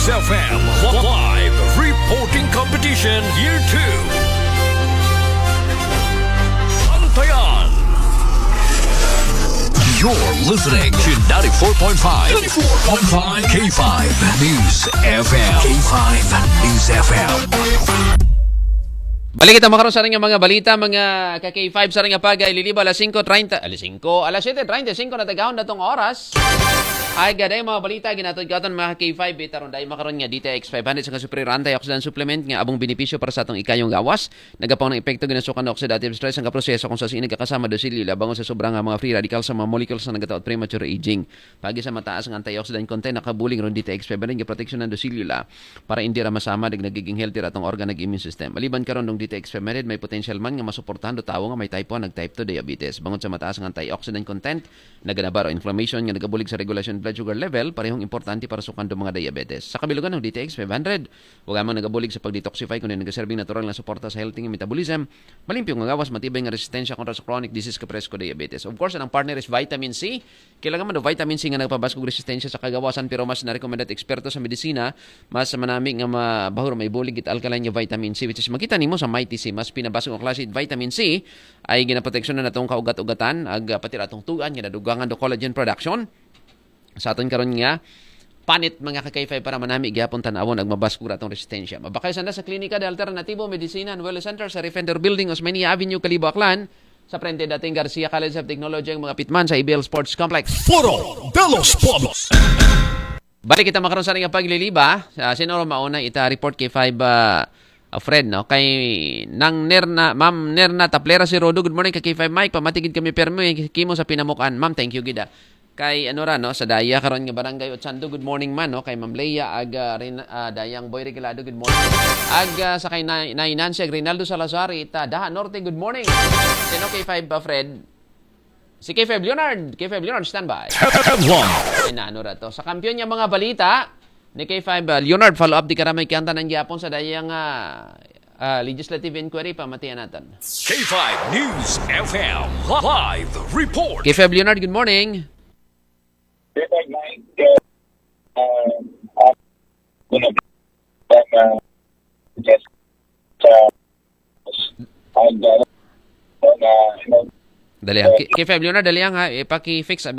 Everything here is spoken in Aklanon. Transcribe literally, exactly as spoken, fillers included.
F M Live Reporting Competition Year two. Bantayan. You're listening to ninety-four point five, ninety-four point five K five News F M. K five News F M. Balik kita makaron sa nga mga balita, mga ka K five sa nga pag ililiba alas singko treinta, alas singko, alas siyete treinta y singko na tagahon natong oras. Ay gaday mga balita ginatod katon mga K five bitaron dai makaron nga D T X five hundred sa kasupriran antioxidant supplement nga abong benepisyo para sa atong ikayong gawas. Nagapang ng epekto ginasukan ng oxidative stress ang kaproseso kung sa sinig kakasama dosilyo labangon sa sobra nga mga free radical sa mga molecules na nagataot premature aging. Pagi sa mataas nga antioxidant content nakabuling ron D T X five hundred nga proteksyon ng dosilyo la para hindi ra masama nag nagiging healthy ra atong organ nag immune system. Maliban karon ng D T X five hundred may potential man nga masuportahan do tawo nga may type one nag type two diabetes. Bangod sa mataas nga antioxidant content, naganabaro inflammation nga nagabulig sa regulasyon blood sugar level, parehong importante para sukan do mga diabetes. Sa kabilugan ng D T X five hundred, wala mang nagabulig sa pag-detoxify kundi nagaserbing natural nga suporta sa healthy nga metabolism, malimpyo nga gawas, matibay nga resistensya kontra sa chronic disease kapares ko diabetes. Of course, ang partner is vitamin C. Kailangan man do vitamin C nga nagpabaskog resistensya sa kagawasan, pero mas narekomenda eksperto sa medisina, mas manami nga mabahur may bulig it alkaline nga vitamin C, which is makita nimo sa Mighty C. Mas pinabaskog nga klase it vitamin C ay ginaproteksyon na natong kaugat-ugatan, ag pati atong tugan nga nadugangan do collagen production. Sa aton karon nga panit mga ka K five para manami gyapon tan-awon ag mabaskog ra atong resistensya. Mabakay sanda sa Klinika de Alternativo Medicina and Wellness Center sa Refender Building, Osmeña Avenue, Kalibo, Aklan. Sa frente dating Garcia College of Technology ang mga pitman sa A B L Sports Complex. Foro de los Pueblos. Balik kita makaron sa nga pagliliba. Uh, sino ro mauna ita report K five uh, uh, Fred, no? Kay Nang Nerna, Ma'am Nerna Taplera si Rodo. Good morning ka K five Mike. Pamatigid kami permi kimo sa pinamukan. Ma'am, thank you gida. Kay ano ra, no, sa daya karon nga barangay Ochando, good morning man, no, kay Ma'am Leia ag ah, Rin, ah, Dayang Boy Regalado, good morning. Ag ah, sa kay Nay, Nay Nancy ag Rinaldo Salazar ita Daha Norte, good morning. Sino K five ba, Fred? Si K five Leonard, K five Leonard standby. Headline. Ay na, ano ra to? Sa kampiyon niya mga balita ni K five ah, Leonard, follow up di karamay kanta ng gyapon sa dayang ah, ah, legislative inquiry, pamatian natin. K five News F M live report. K five Leonard, good morning. Good night. Uh, uh, uh, uh, just uh, and uh, uh, Dali ang K five Leonard, dali ang ha, ipaki-fix abi